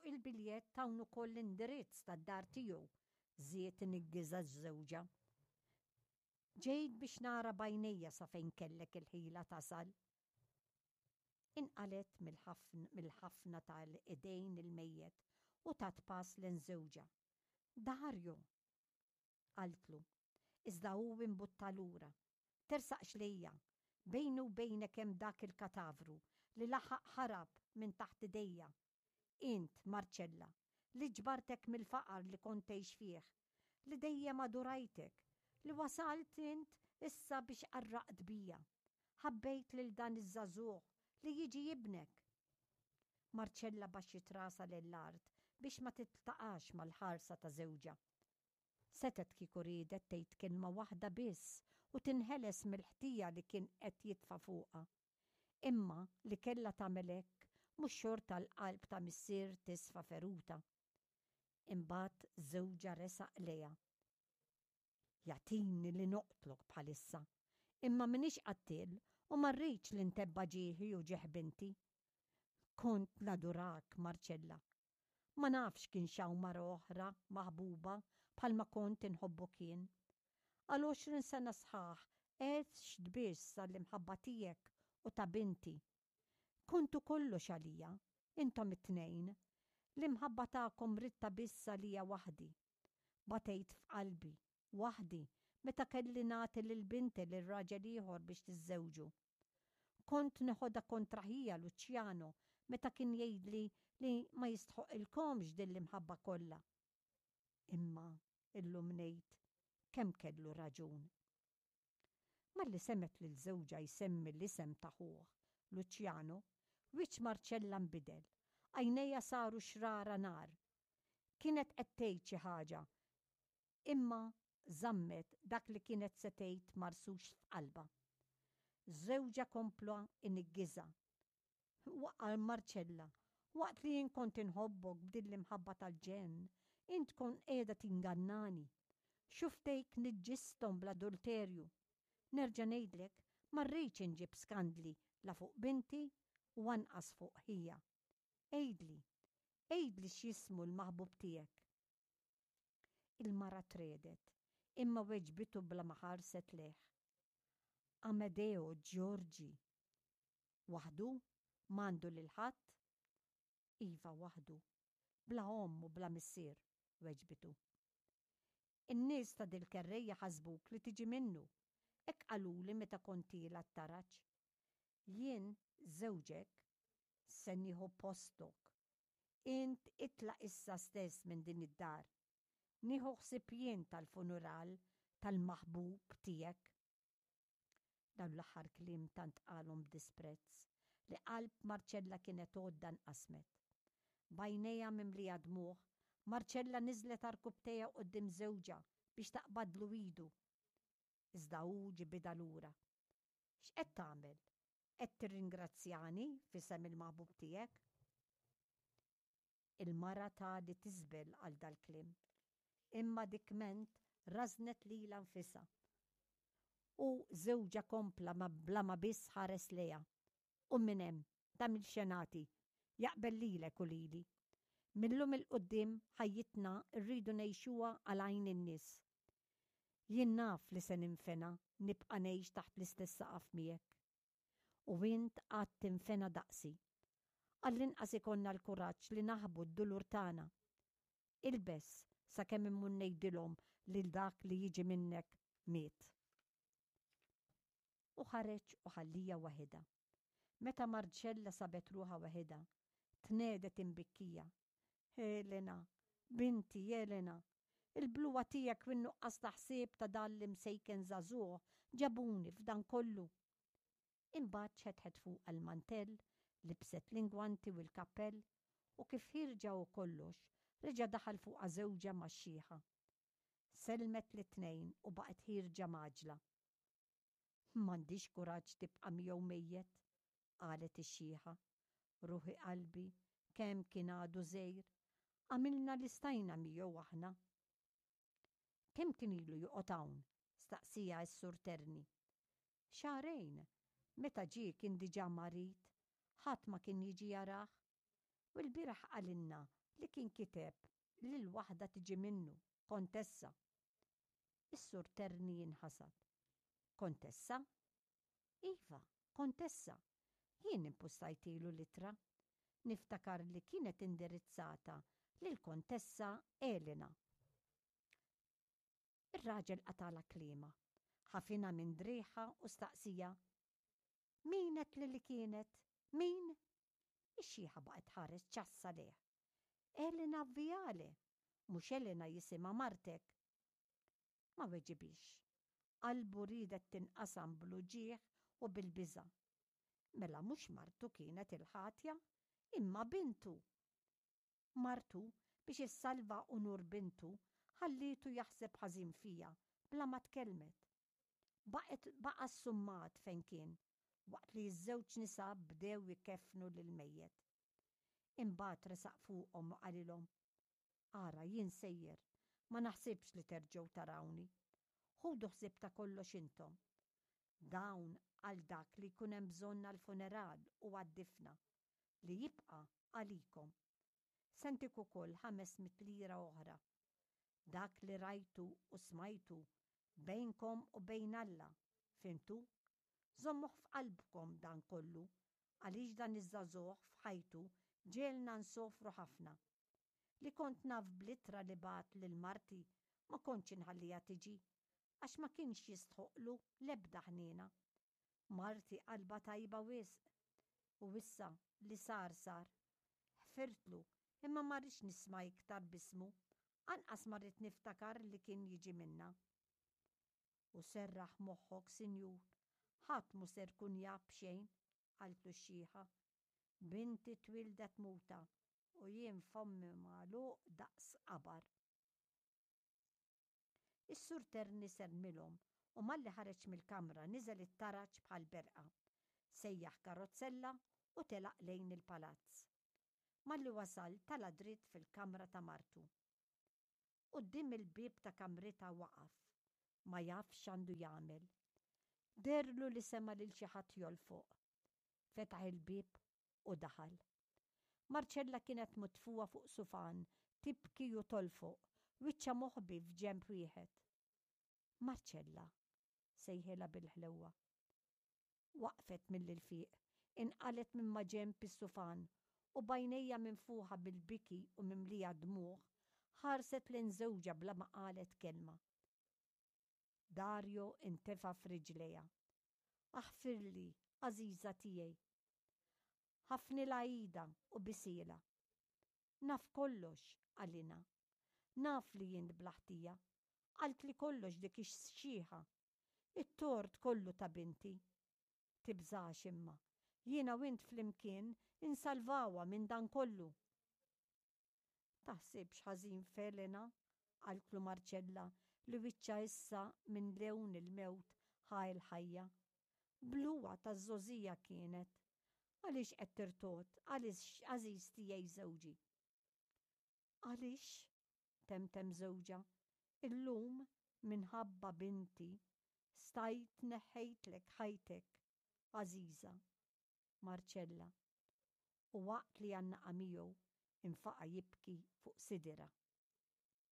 Fuq il-biljett hawn ukoll l-indirizz tad-dar tiegħu, żied iniggiżha żewġha. Ġejt biex nara b'għajnejja sa fejn kellek il-ħila tasal. Inqalgħet mill-ħafna ta' idejn il-mejjet u tat pass lejn żewġha. Dario! Qaltlu. Iżda hu imbutta lura. Tersaqx lejja. Bejni u bejnek hemm dak il-katavru li laħaq ħarab minn taħt idejja. Int, Marcella, li ġbartek mill-faqar li kont tgħix fih, li dejjem adurajtek, li wasalt int issa biex qarraqt bija. Ħabbejt lil dan iż-żagħżugħ li jiġi ibnek. Marcella baxxiet rasha lejn l-art biex ma tiltaqax mal-ħarsa ta' żewġha. Setgħet kieku riedet tgħid kelma waħda biss u tinħeles mill-ħtija li kien qed jitfa' fuqha. Imma li kellha tagħmel hekk mhux xorta l-qalb ta' missier tisfa' feruta. Imbagħad żewġha resaq lejha. Jagħtini li noqtlok bħalissa, imma m'iniex qattiel u ma rridx li ntebba' ġieħi u ġieħ binti. Kont nadurak, Marcella. Ma nafx kienx hawn mara oħra maħbuba bħalma kont inħobbok jien. Għal 20 sena sħaħ għext biss għall-imħabba tiegħek u ta' binti. Kontu kollox għalija, intom it-tnejn. L-imħabba tagħkom ridtha biss għalija waħdi. Batejt f'qalbi, waħdi, meta kelli nagħti lil binti lil raġel ieħor biex tiżżewġu. Kont neħodha kontra ħija Luciano meta kien jgħidli li ma jistħoqilkomx din l-imħabba kollha. Imma illum ngħid kemm kellu raġun. Malli semgħet lil żewġha jsemmi l-isem ta' ħuh, Luciano, wiċċ Marcella nbidel, għajnejha saru xrara nar. Kienet qed tgħid xi ħaġa, imma żammet dak li kienet se tgħid marsux f'qalbha. Żewġha kompla iniggiżha. Waqal Marcella, waqt li jien kont inħobbok b'din l-imħabba tal-ġenn, int kont qiegħda tingannani. Xuftejk niġġisthom bl-adulterju. Nerġa' ngħidlek, ma rridx inġib skandli la fuq binti u anqas fuq ħija. Għidli, għidli x'jismu l-maħbub tiegħek. Il-mara tregħdet, imma weġbitu bla ma ħarset lejh. Amedeo Giorgi. Waħdu? M'għandu lil ħadd? Iva, waħdu. Bla omm u bla missier, weġbitu. In-nies ta' dil-kerrejja ħasbuk li tiġi minnu. Hekk qaluli meta kont tiela' t-taraġ. Jien, żewġek, se nieħu postok. Int itlaq issa stess minn din id-dar. Nieħu ħsieb jien tal-funeral tal-maħbub tiegħek. Dawn l-aħħar kliem tant qalhom b'disprezz li qalb Marcella kienet għodda nqasmet. B'għajnejha mimlija dmugħ, Marcella niżlet għarkupptejha quddiem żewġha biex taqbadlu idu. Iżda hu ġibidha lura. X'qed tagħmel? Qed tirringrazzjani f'isem il-maħbub tiegħek? Il-mara tali tiżbel għal dal-kliem. Imma dik ment rażnet lilha nfisha. U żewġha kompla ma bla ma biss ħares lejha. Qum minn hemm, tagħmilx xenati. Jaqbel lilek u lili. Mil-lum 'il quddiem ħajjitna rridu ngħixuha għal għajn in-nies. Jien naf li se ninfena nibqa' ngħix taħt l-istess saqaf miegħek. U int għad tinfena daqsi. Għall-inqas ikollna l-kuraġġ li naħbu d-dulur tagħna. Ilbes sakemm immur ngħidilhom lil dak li jiġi minnek miet. U ħareġ u ħallija waħidha. Meta Marcella sabet ruħha waħidha, tnegħdet imbikkija. Elena, binti Elena, il-bluha tiegħek u n-nuqqas ta' ħsieb ta' dan l-imsejken żagħżugħ ġabuni f'dan kollu. Imbagħad xetħet fuqha l-mantell, libset l-ingwanti u l-kappell, u kif ħierġa u kollox, reġa' daħal fuqha żewġha max-xiħa. Sellmet lit-tnejn u baqgħet ħierġa mgħaġġla. M'għandix kuraġġ tibqa' miegħu mejjet, qalet ix-xiħa. Ruħi qalbi, kemm kien għadu żgħir. Għamilna li stajna miegħu aħna. Kemm kien ilu joqgħod hawn? staqsieha s-Sur Terni. Xahrejn. Meta ġie kien diġà marid. Ħadd ma kien jiġi jarah. U lbieraħ qalilna li kien kiteb lil waħda tiġi minnu, kontessa. Is-Sur Terni inħasad. Kontessa? Iva, kontessa. Jien impustajtilu l-ittra. Niftakar li kienet indirizzata lill-Kontessa Elena. Ir-raġel qatagħlha kliemha, ħafinha minn driegħha u staqsiha, Min għedtli li kienet? Min? Ix-xiħa baqgħet tħares ċassa lejh. Elena Viale! Mhux Elena jisimha martek? Ma weġibhiex. Qalbu riedet tinqasam bl-uġigħ u bil-biża'. Mela mhux martu kienet il-ħatja, imma bintu! Martu, biex issalva unur bintu, ħallietu jaħseb ħażin fiha bla ma tkellmet. Baqgħet baqa' ssummat fejn kien, waqt li ż-żewġ nisa bdew ikeffnu lill-mejjet. Imbagħad resaq fuqhom u qalilhom, Ara, jien sejjer, ma naħsibx li terġgħu tarawni. Ħudu ħsieb ta' kollox intom. Dawn għal dak li jkun hemm bżonn għall-funeral u għad-difna. li jibqa' għalikom. Se ntik ukoll 500 lira oħra. Dak li rajtu u smajtu bejnkom u bejn Alla, fhimtu? Żommuh f'qalbkom dan kollu, għaliex dan iż-żagħżugħ f'ħajtu ġegħelna nsofru ħafna. Li kont naf bl-ittra li bagħat lil marti ma kontx inħalliha tiġi, għax ma kienx jistħoqqlu l-ebda ħniena. Marti qalbha tajba wisq. U issa li sar sar. Ħfirtlu, imma ma rridx nisma' iktar b'ismu, anqas ma rrid niftakar li kien jiġi minnha. U serraħ moħħok, sinjur, ħadd mhu ser ikun jaf b'xejn, qaltlu x-xiħa. Binti twieldet muta u jien fommi magħluq daqs qabar. Is-Sur Terni sellmilhom u malli ħareġ mill-kamra niżel it-taraġ bħal berqa. Sejjaħ karozzella u telaq lejn il-palazz. Malli wasal tala' dritt fil-kamra ta' martu. Quddiem il-bieb ta' kamritha waqaf, ma jaf x'għandu jagħmel. Dehrlu li sema' lil xi ħadd jolfoq. Fetaħ il-bieb u daħal. Marcella kienet mitfugħa fuq sufan, tibki u tolfoq, wiċċha moħbi f'ġenb wieħed. Marcella! sejħilha bil-ħlewwa. Waqfet mill-ilfiq, inqalgħet minn maġenb is-sufan u b'għajnejha minfuħa bil-biki u mimlija dmugħ, ħarset lejn żewġha bla ma qalet kelma. Dario intefa' f'riġlejha. Aħfirli, għażiża tiegħi. Ħafnilha idha u bisielha. Naf kollox, qalilha. Naf li int bla ħtija. Qaltli kollox dik ix-xieħa. It-tort kollu ta' binti. Tibżax imma. Jiena u int flimkien insalvawha minn dan kollu. Taħsibx ħażin f'Elena, qaltlu Marcella li wiċċha issa minn lewn il-mewt ħa l-ħajja. Bluha taż-żgħożija kienet. Għaliex qed tirtogħod, għaliex, għażiż tiegħi żewġi? Għaliex, temtem żewġha, illum minħabba binti stajt neħħejtlek ħajtek, għażiża. Marcella, u waqt li għannaqha miegħu infaqa' jibki fuq sidirha.